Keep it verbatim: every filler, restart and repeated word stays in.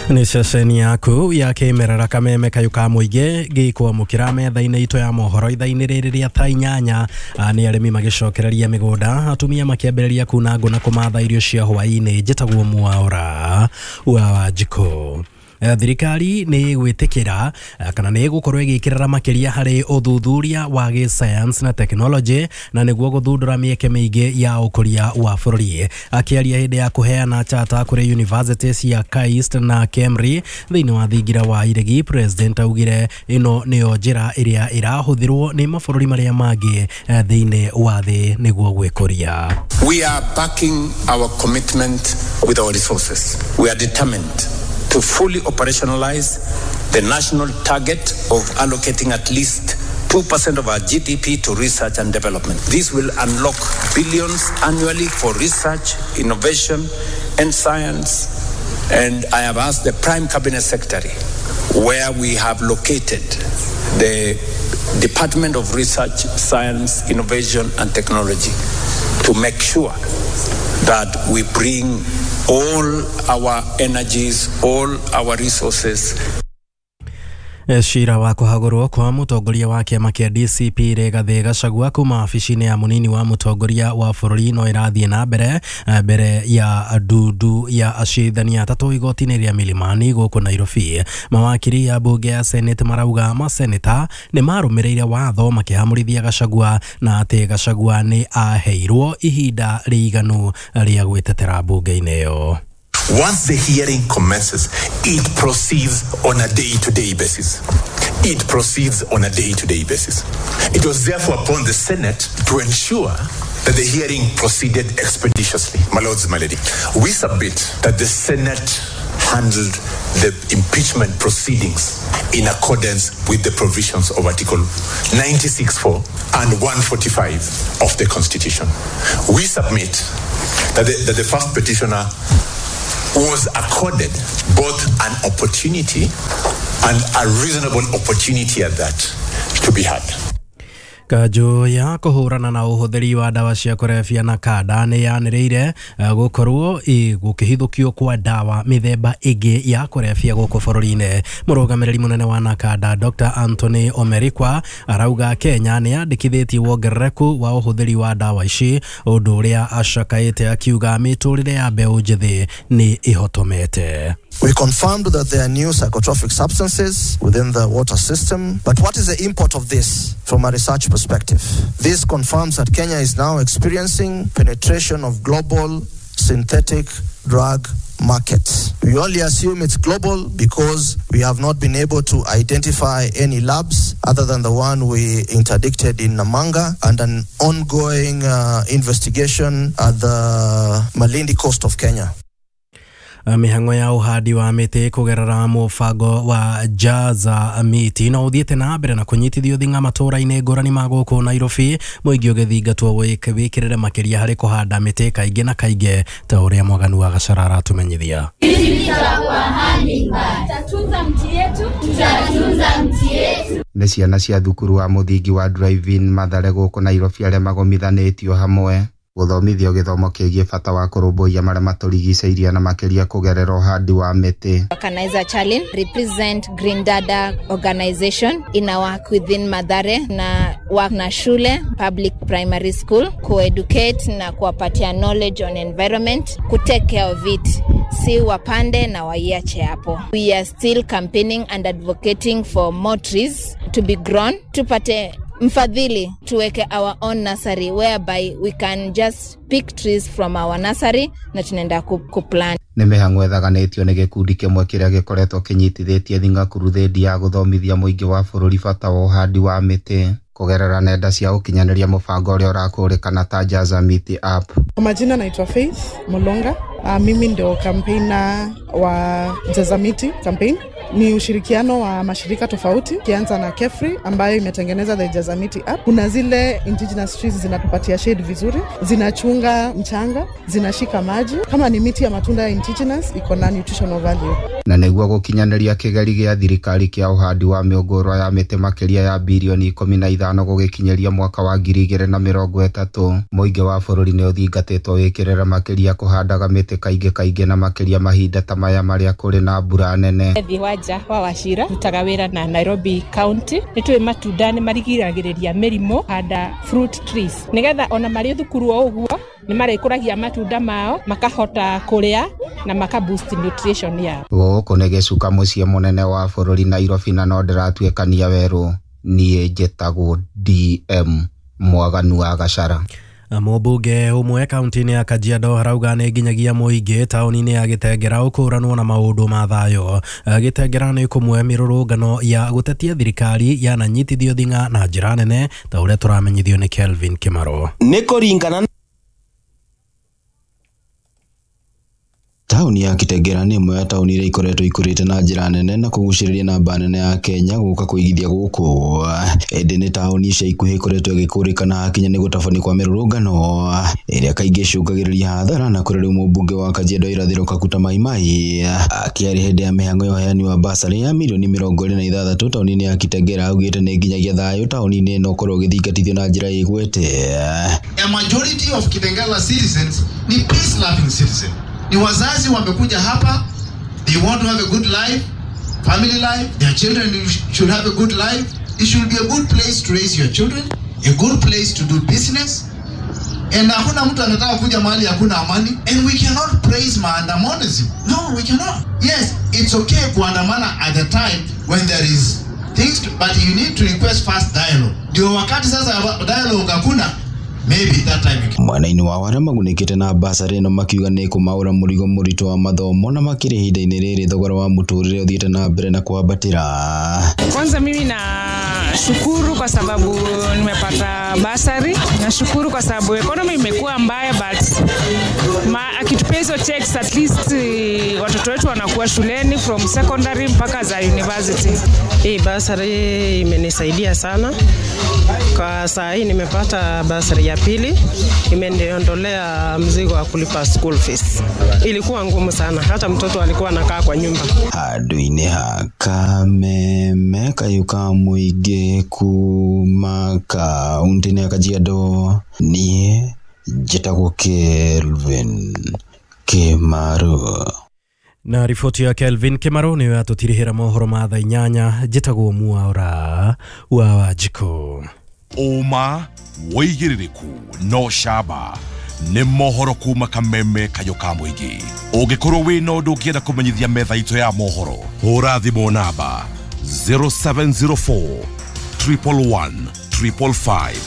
Nĩ ceceni yaku ya kĩmerera Kameme kayũ ka mũingĩ gĩkwamũkĩra metha-inĩ itũ ya mohoro ithaa-inĩ rĩrĩ rĩa thaa inyanya. Nĩ arĩmi magĩcokereria mĩgũnda, atumia makĩambĩrĩria kuna ngũ na kũmatha irio cia hwaĩ-inĩ. Njĩtagwo Mwaũra wa Wanjikũ. Thirikari nĩ gwĩtĩkĩra kana nĩ ĩgũkorwo ĩgĩkĩrĩra makĩria harĩ ũthuthuria wa gĩsayansi na tekinoronjĩ na nĩguo gũthundũra mĩeke mĩingĩ ya ũkũria wa bũrũri. Akĩaria hĩndĩ ya kũheana chata kũrĩ university cia KAIST na KEMRI thĩinĩ wa thingira wa Iregi, President augire ĩno nĩyo njĩra ĩrĩa ĩrahũthĩrwo nĩ mabũrũri marĩa mangĩ thĩinĩ wa thĩ nĩguo gwĩkũria. We are backing our commitment with our resources. We are determined to fully operationalize the national target of allocating at least two percent of our G D P to research and development. This will unlock billions annually for research, innovation, and science. And I have asked the Prime Cabinet Secretary where we have located the Department of Research, Science, Innovation, and Technology to make sure that we bring all our energies, all our resources. Cira wa kũhagũrwo kwa mũtongoria wa kĩama kĩa D C P Rigathĩ Gachagua kuma wabici-inĩ ya mũnini wa mũtongoria wa bũrũri no ĩrathiĩ na mbere mbere ya ndundu ya acirithania atatũ igoti-inĩ rĩa Milimani gũkũ Nairobi. Mawakiri ya mbunge ya Senate marauga maseneta nĩ marũmĩrĩire watho makĩhamũrithia Gachagua na atĩ Gachagua nĩ aheirwo ihinda rĩiganu rĩa gwĩtetera mbunge-inĩ ĩyo. Once the hearing commences, it proceeds on a day-to-day basis. It proceeds on a day-to-day basis. It was therefore upon the Senate to ensure that the hearing proceeded expeditiously. My lords, my lady, we submit that the Senate handled the impeachment proceedings in accordance with the provisions of Article ninety-six four and one forty-five of the Constitution. We submit that the, that the first petitioner was accorded both an opportunity and a reasonable opportunity at that to be heard. Kanjũ ya kũhũrana na ũhũthĩri wa ndawa cia kũrebia na kanda nĩ yanĩrĩire gũkorwo gũkĩhithũkio kwa ndawa mĩthemba ĩngĩ ya kũrebia gũkũ bũrũri-inĩ. Mũrũgamĩrĩri mũnene wa Nakanda Doctor Anthony Omerikwa arauga Kenya nĩ yandĩkithĩtie wongerereku wa ũhũthĩri wa ndawa ici, ũndũ ũrĩa acakaĩte akiuga mĩtũrĩre ya mbeũ njĩthĩ nĩ ĩhotomete. We confirmed that there are new psychotropic substances within the water system. But what is the import of this from a research perspective? This confirms that Kenya is now experiencing penetration of global synthetic drug markets. We only assume it's global because we have not been able to identify any labs other than the one we interdicted in Namanga and an ongoing uh, investigation at the Malindi coast of Kenya. Mĩhang'o ya ũhandi wa mĩtĩ kũgerera mũbango wa Jaza Miti no ũthiĩte na mbere na kũnyitithio thing'a matũũra-inĩ ngũrani ma gũkũ Nairobi, mũingĩ ũgĩthingatwo wĩkĩrĩre makĩria harĩ kũhanda mĩtĩ kaingĩ na kaingĩ ta ũrĩa Mwaganu wa Gacara aratumenyithia. Nĩ ciana cia thukuru wa mũthingi wa Drive-In Mathare gũkũ Nairobi arĩa magomithanĩtio hamwe gũthomithio gĩthomo kĩgiĩ bata wa kũrũmbũiya marĩa matũrigicĩirie na makĩria kũgerera ũhandi wa mĩtĩ. Organizer Charlene represent Green Dada organization in our work within Mathare na work na shule public primary school ku-educate na kuwapatia knowledge on environment, ku take care of it, si wapande na waiache hapo. We are still campaigning and advocating for more trees to be grown, tupate mfadhili tuweke our own nursery whereby we can just pick trees from our nursery na tunaenda kuplant. Nĩ mĩhang'o ĩthaganĩtio nĩ gĩkundi kĩmwe kĩrĩa gĩkoretwo kĩnyitithĩtie thing'a kuruthĩndi ya gũthomithia mũingĩ wa bũrũri bata wa ũhandi wa mĩtĩ kũgerera nenda cia ũkinyanĩria mũbango ũrĩa ũrakũrĩkana ta Jaza Miti app. Kwa majina naitwa Faith Mulonga. Uh, mimi ndio campaigner wa Jaza Miti campaign. Ni ushirikiano wa mashirika tofauti, kianza na KEFRI ambayo imetengeneza the Jazamiti app. Kuna zile indigenous trees zinatupatia shade vizuri, zinachunga mchanga, zinashika maji. Kama ni miti ya matunda ya indigenous iko na nutritional value. Na nĩguo gũkinyanĩria kĩgeri gĩa thirikari kĩa ũhandi wa mĩũngũrwa ya mĩtĩ makĩria ya birioni ikũmi na ithano gũgĩkinyĩria mwaka wa ngiri igĩrĩ na mĩrongo ĩtatũ, mũingĩ wa bũrũri nĩ ũthingatĩtwo wĩkĩrĩre makĩria kũhandaga mĩtĩ kaingĩ kaingĩ na makĩria mahinda ta maya marĩa kũrĩ na mbura nene. Ethi wanja wa Wachira rutaga wĩra na Nairobi County. Nĩ tũĩ matunda nĩ marigiragĩrĩria mĩrimũ, handa fruit trees nĩgetha ona marĩ thukuru o ũguo nĩ marĩkũragia matunda mao makahota kũrĩa na maka boost nutrition yao. Gũkũ nĩ gĩcuka mũciĩ mũnene wa bũrũri Nairobi na no ndĩratuĩkania werũ. Niĩ njĩtagwo D M Mwaganu wa Gachara. Mũmbunge ũmwe kaunti-inĩ ya Kajiado arauga nĩ nginyagia mũingĩ taũni-inĩ ya Gĩtengera ũkũranwo na maũndũ ma thayũ. Gĩtengera nĩ kũmwe mĩrũrũngano ya gũtetia thirikari yananyitithio thing'a na njĩra nene ta ũrĩa tũramenyithio nĩ Kelvin Kimaro. Nĩ kũringana Taũni ya Kitengera nĩ ĩmwe ya taũni iria ikoretwo ikũrĩte na njĩra nene na kũgucĩrĩria namba nene ya Kenya gũka kũigithia gũkũ. Ĩndĩ nĩ taũni ica ikuhĩ ikoretwo ĩgĩkũrĩkana hakinya nĩ gũtabania kwa mĩrũrũngano ĩrĩa kaingĩ ĩcũngagĩrĩria hathara, na kũrĩ rĩu mũmbunge wa Kajiado Irathĩro Kakuta Maimai akĩaria hĩndĩ ya mĩhang'o ya ũheani wa basarĩ ya mirioni mĩrongo ĩrĩ na ithathatũ taũni-inĩ ya Kitengera augĩte nĩ nginyagia thayũ taũni-inĩ ĩno ũkorwo ũgĩthingatithio na njĩra ĩgwete. A majority of Kitengela citizens ni peace loving citizens. Ni wazazi wamekuja hapa, they want to have a good life, family life, their children should have a good life. It should be a good place to raise your children, a good place to do business. And hakuna mtu anataka kuja mahali hakuna amani. And we cannot praise maandamanoism. No, we cannot. Yes, it's okay kuandamana at the time when there is things, to, but you need to request first dialogue. Ndio wakati sasa dialogue hakuna, maybe that time. Mwena-inĩ wa arĩa magunĩkĩte na basarĩ ĩno makiuga nĩ kũmaũra mũrigo mũritũ wa mathomo na makĩria ihinda-inĩ rĩrĩ thogora wa mũtũrĩre ũthiĩte na mbere na kwambatĩra. Kwanza mimi na shukuru kwa sababu nimepata basari. Nashukuru kwa sababu economy imekuwa mbaya, but ma akitupea hizo checks at least watoto wetu wanakuwa shuleni from secondary mpaka za university. Hii basari imenisaidia sana. Kwa saa hii nimepata basari ya pili, imeniondolea mzigo wa kulipa school fees. Ilikuwa ngumu sana, hata mtoto alikuwa anakaa kwa nyumba. Handũ-inĩ ha Kameme kayũ ka mũingĩ kuma kaunti-inĩ ya Kajiado, niĩ njĩtagwo Kelvin Kimaro. Na riboti ya Kelvin Kimaro nĩyo yatũtirihĩra mohoro ma thaa inyanya. Njĩtagwo Mwaura wa Wanjikũ. Ũma wĩigĩrĩrĩku no camba nĩ mohoro kuma Kameme kayũ ka mũingĩ. Ũngĩkorwo wĩna ũndũ ũngĩenda kũmenyithia metha itũ ya mohoro, hũra thimũ namba zero seven zero four triple one triple five.